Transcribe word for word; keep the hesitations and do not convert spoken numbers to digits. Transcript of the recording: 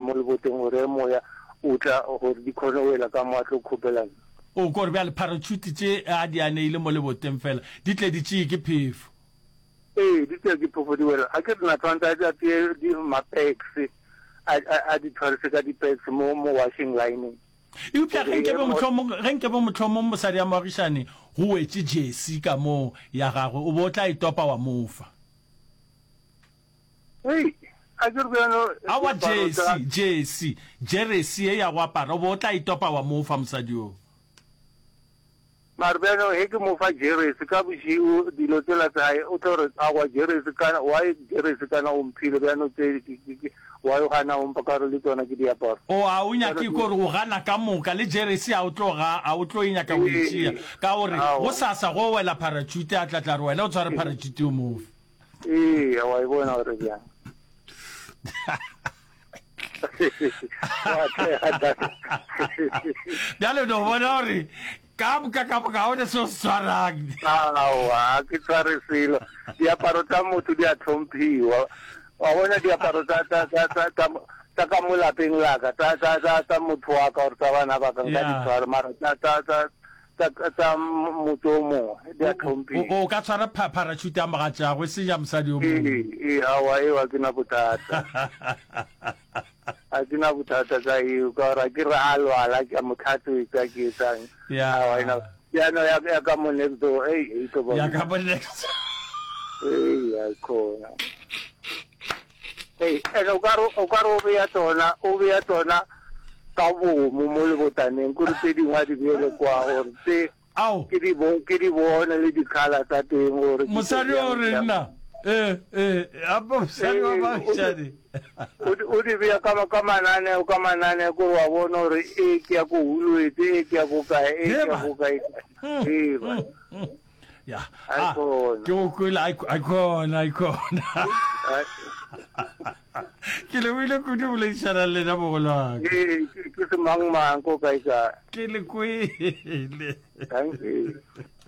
mo leboteng gore moya o tla gore di kgone go wela ka mo a tlo kgopela nna. O ko re bjale parachute tše a di aneile mo leboteng fela di tle di tšee ke phefo. Ee, di tšea ke phefo di wela. A ke re na tshwanetse a tšee di ma-pegs a a di tshwarise ka di-pegs mo mo washing line-eng. Eupša ge nke be mohlomong, ge nke be mohlomong mosadi ya moagišani go wetše jesi ka moo ya gagwe, o be o tla e topa wa mo fa. Hei, a ke re bjalo Aowa, diaparo tša. jesi, jesi, jeresi ye ya go apara, o be o tla e topa wa mo fa mosadi yoo. Mara bjalo ge ke mo fa jeresi ka bošego dilo tsela tsa hae o tlo re aowa jeresi kana why jeresi kana o mphile bjano tse why o gana o mpha ka gore le tsona ke diaparo. O a o nyake ko re o gana ka moka le jeresi a o tlo ga a o tlo e nyaka go e tšea ka gore gosasa go wela parachute a tla tla re wena o tshware parachute o mo fe. Ee, wa e bona gore bjang. Bjale no bona gore ka moka ka moka ga o ne se o se tshwarang. Aowa, ke tshware selo. Diaparo tsa motho di a tlhomphiwa. Wa bona diaparo tsa tsa tsa tsa tsa tsa ka mo lapeng la ka, tsa tsa tsa tsa motho wa ka or tsa bana ba ka nka di tshwara, mara tsa tsa tsa tsa tsa motho o mongwe di a tlhomphiwa. O ka tshwara parachute ya mogatšago e seng ya mosadi yo mongwe. Ee, ee, aowa, eo ga ke na bothata. Ga ke na bothata ka eo, ka gore ke re a lwala ke a mo tlhatswetsa ke etsang. Aowa, ena ya no ya ya ka mo next door, ei, e tlo ba. Ya ka mo next. Ei, ya khona. Ei, ene o ka re o ka re o beya tsona, o beya tsona ka bomo mo lebotaneng, kore tse dingwe a di beele kwa gore tse Ao. ke di bo ke di bone le di-colour tsa teng gore ke tse Mosadi o bjang re bjang. nna ee ee apa mosadi wa Ee, o di baagišani. o di o di beya ka ka mananeo ka mananeo kore wa bona gore e ke ya ko Woolworths, e ke ya ko kae, e ke ya Heba. ko kae. Mm, Ee ba. mm, mm. Ya. Ai Ah, khona. ke go kwele ai ai khona ai khona. Ai. Ke lebohile kudu go boledišana le lena mogolo wa ka. Ee, ke ke semangmang ko kae kae. Ke le kwele. Thank you.